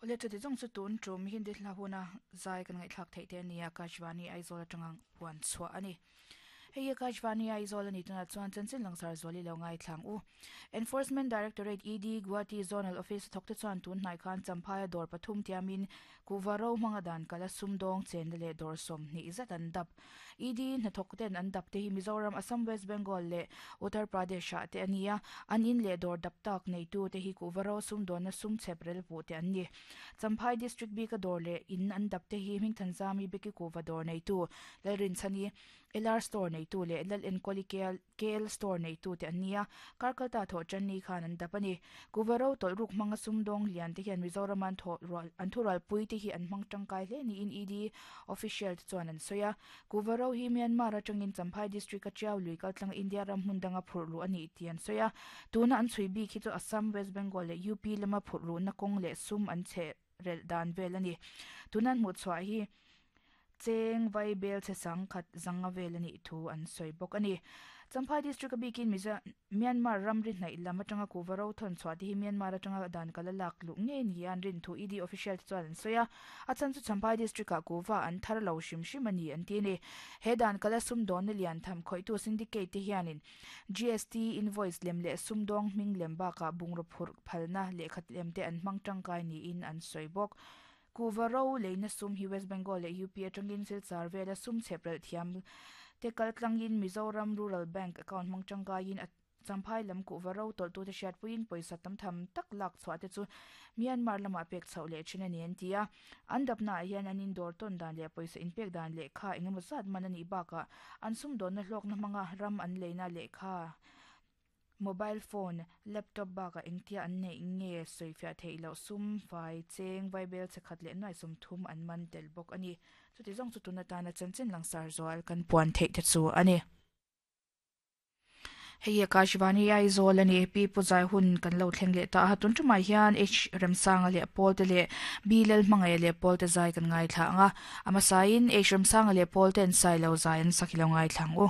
Awle chuti zawng chu tun tum Hindi hla huna zai kan ngaihthlak theih te a ni a, Akashvani Aizawl atanga puan chhuah a ni. Hei hi Akashvani Aizawl a ni tunah chuan chanchin langsar zual i lo ngaithlang u. Enforcement Directorate, ED, Guwahati Zonal Office a thawkte chuan tun hnai khan Champhaia dawr pathum tiamin kuhva ro hmanga dan kala sumdawng chenna leh dawr 20 zat an dap. ED hnathawk ten an dap te hi Mizoram, Assam, West Bengal leh Uttar Pradesh ah te a ni a, an in leh dawr dap tak neitu te hi kuhva ro sumdawnna sum chhep rel puh te an ni. Champhai District bika dawr leh in an dap te hi Hmingthanzami Beki kuhva dawr neitu Lalrinchhani, LR Store neitu leh Lal Enkawli KL Store neitu te an ni a, Karkalta thawh Channi khan an dap a ni. Kuhva ro tawlh ruk hmanga sumdawng lian te hian Mizoram an thawh rual an thurualpui te hi an hmang tangkai hle niin ED official te chuan an sawi a. Kuhva ro hi Myanmar atangin Champhai District a Tiau lui kaltlang India ram hmun danga phurh luh a nih tih an sawi a. Tuna an chhui bik hi chu Assam, West Bengal leh UP lama phurh luhna kawng leh sum an chhe relh dan vel a ni. Tuna an hmuh chhuah hi cheng vai bel chhe sang khat zanga vel a nih thu an sawi bawk a ni. Champhai District a bikin Mizo Myanmar ramri hnaih lam atanga kuhva ro thawn chhuah te hi Myanmar atanga dan kal a lak luh ngei ni a an rin thu ED official te chuan an sawi a. A chhan chu Champhai District ah kuhva an thar lo hrim hrim a ni an ti a ni. He dan kala sumdawnna lian tham khawihtu syndicate te hianin GST invoice lem leh sumdawng hming lem bakah bungraw phurh phalna lehkha lem te an hmang tangkai niin an sawi bawk. Kuhva ro leina sum hi West Bengal leh UP atangin Silchar vela sum chhep relh thiam te kal tlangin Mizoram Rural Bank account hmang tangkaiin a Champhai lam kuhva ro tawlhtute hriatpuiin pawisa tam tham tak lak chhuah te chu Myanmar lamah pek chhoh leh thin a ni an ti a. An dapnaah hian an indawr tawn dan leh pawisa inpek dan lehkha engemaw zat man a nih bakah an sumdawnna hlawkna hmanga ram an leina lehkha, mobile phone, laptop bakah engtia an neih nge sawifiah theih loh sum, fai, cheng, vaibel chhe khat leh nuai 30 an man tel bawk a ni. Chuti zawng chu tun atana chanchin langsar zual kan puan theih te chu a ni. Hei hi Akashvani Aizawl a ni. Pi Pu Zai hun kan lo thleng leh ta a. Tun tumah hian H Remsanga leh Paul te leh B Lalhmangaih leh Paul te zai kan ngaithla ang a. A hmasain H Remsanga leh Paul ten Sailo zai an sak hi lo ngaithla ang u.